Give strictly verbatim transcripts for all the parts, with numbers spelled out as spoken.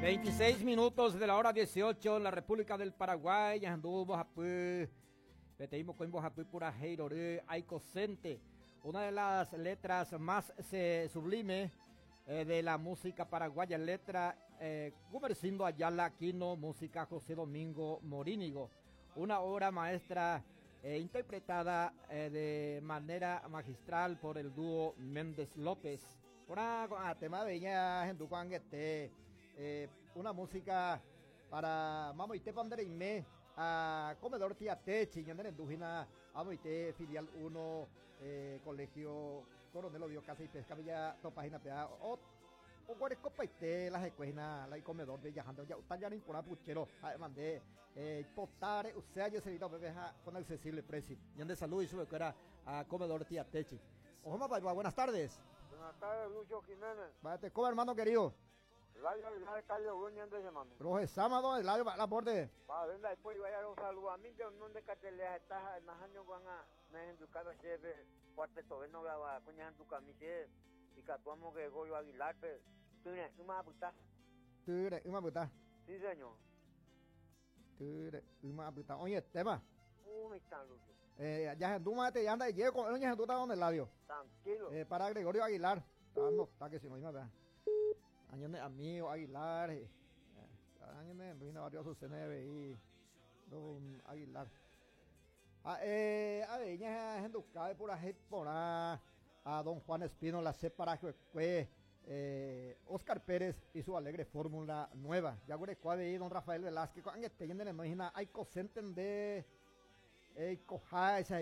Veintiséis minutos de la hora dieciocho en la República del Paraguay. Ñahendu mbohapy, peteĩ mokõi mbohapy purahéi rory Aikosente, una de las letras más eh, sublime eh, de la música paraguaya, letra eh, Gumersindo Ayala Aquino, música José Domingo Morínigo, una obra maestra eh, interpretada eh, de manera magistral por el dúo Méndez López. Una ah, tema de ñahendu ko'ag̃aite, eh, una música para mamoite pandereime a Comedor Tía Techi, ñanerenduhína amoite filial uno, eh, Colegio Coronel Oviedo Caza y Pesca, Villa Topágina pea o oguerekopaite la hikuái la comedor de jahánte oja'uta porã puchero ha'e mande eh, potare usea jeserita upépe ha con accesible precio. Ñande saludo y chupekuéra a Comedor Tía Techi. Ojoma paipa, buenas tardes. Buenas tardes, Lucho Jiménez. Vate, ¿cómo, hermano querido? Eladio Aguilar de Calle Oguña, de semana. Roje sábado, Eladio, la borde. Pa, venga, después vaya un saludo a mí, de un de Catelea, está más años van a me educado jefe, cuarteto veno graba, coña en tu camisa, y catuamos que Goyo Aguilar, pero tú no me apuntas. Tú eres una puta. Sí, señor. Tú eres una puta. Oye, tema. Un está, Lucho. Eh, ya mate, ya anda, llego, oye, está donde Eladio. Tranquilo. Eh, para Gregorio Aguilar. Está, no, está que si no, vea. Año de amigo Aguilar, eh, año de vino varios C N B y don Aguilar. Ah, eh, a ver, ya gente por ahí por a don Juan Espino la separa eh, Oscar Pérez y su alegre fórmula nueva. Ya güey don Rafael Velázquez, hay cosenten de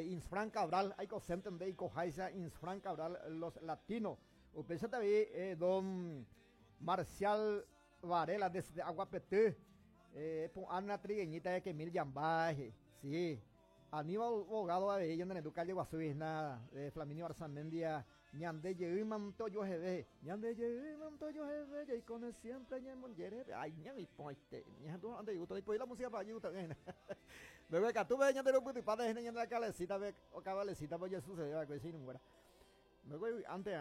Insfran Cabral, hay cosenten de Insfran Cabral, los latinos. Usted también, eh, don Marcial Varela desde Aguapetú, eh, Ana Trigueñita de Kemil Yambaje, sí. Aníbal Bogado de ella en el calle Guasuisna, de Flaminio Arzamendia, Ñande Yeúmanto yo jeve, Ñande Yeúmanto yo jeve, y con el siempre ñe ay, ña mi poite, ña tú ande gusta, y la música para allí gusta bien. Bebé, que tú ves ñande lo puto y padre, ñande la calecita, ve, o cabalecita, pues ya sucedió, que si no muera. Luego antes,